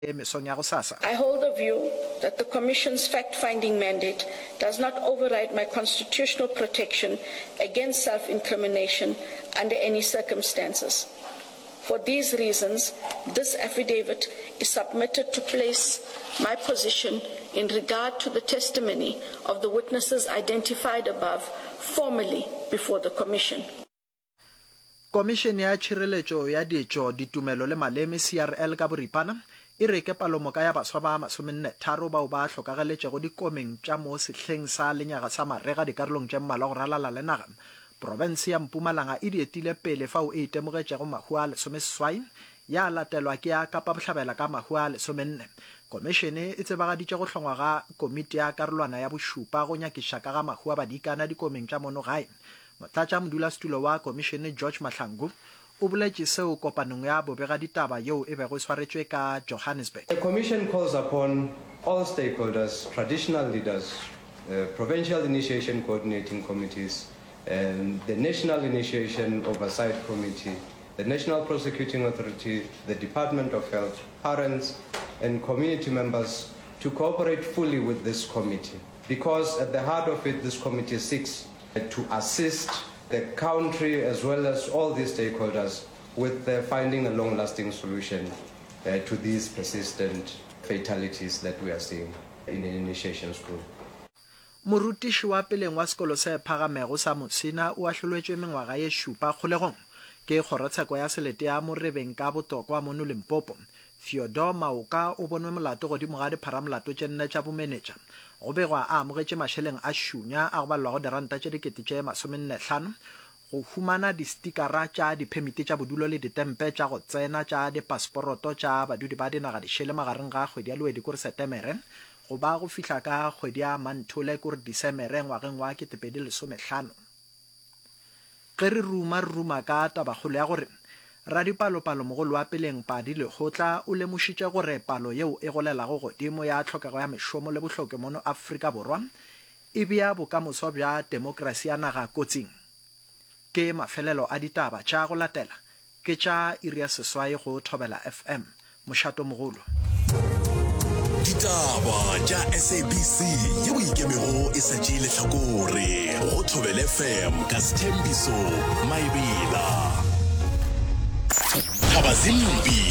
Mesong ya gosasa. I hold the view that the Commission's fact-finding mandate does not override my constitutional protection against self-incrimination under any circumstances. For these reasons, this affidavit is submitted to place my position in regard to the testimony of the witnesses identified above formally before the Commission. Komišene ya Tšhireletšo ya Ditšo, Ditumelo le Maleme, CRL ka boripana, e re ke palomoka ya baswa ba masomennetharo bao ba hlokageletšego dikomeng tša mo sehleng sa lenyaga sa marega dikarolong tše mmalwa go ralala le naga. Profense ya Mpumalanga e di etile pele fao e itemogetšego mahu a lesomeseswai, ya latelwa ke ya Kapa Bohlabela ka mahu a lesomenne. Komišene e tsebagaditše go hlongwa ga komiti ya karolwana ya bošupa go nyakiša ka ga mahu a badikana dikomeng tša mono gae. Motlatšamodulasetulo wa Komišene George Mahlangu o boletše seo kopanong ya bobegaditaba yeo e bego e swaretšwe ka Johannesburg. The Commission calls upon all stakeholders, traditional leaders, provincial initiation coordinating committees, the National Initiation Oversight Committee, the National Prosecuting Authority, the Department of Health, parents and community members to cooperate fully with this committee because at the heart of it this committee seeks to assist the country as well as all these stakeholders with finding a long-lasting solution to these persistent fatalities that we are seeing in initiation school. Morutiši wa peleng wa sekolo se phagamego sa Musina o ahlolwetšwe mengwaga ye šupa kgolegong ke kgorotsheko ya selete ya Morebeng ka Botokwa mono Limpopo. Theodore Maoka o bonwe molato godimo ga dipharamolato tše nne tša bomenetša. Go begwa a amogetše mašeleng a šunya a go balelwago diranta tše dikete tše masomennehlano go humana distikara tša diphemiti tša bodulo le ditempe tša go tsena tša dipasporoto tša badudi ba dinaga dišele magareng ga kgwedi ya Lwedi kore Setemere go ba go fihla ka kgwedi ya Manthole kore Disemere ngwageng wa 2015. Ge re ruma, re ruma ka tabakgolo ya gore radipalopalomogolo wa peleng Padi Lekgotla o lemošitše gore palo yeo e golelago godimo ya tlhokego ya mešomo le bohloki mono Afrika Borwa e bea bokamoso bja temokrasi ya naga kotsing. Ke mafelelo a ditaba tša go latela Ke tša iri ya seswai go Thobela FM, mošatomogolo. Ditaba tša SABC yeo e ikemego e sa tšee lehlakore go Thobela FM ka Sthembiso Maebela. Thabazimbi.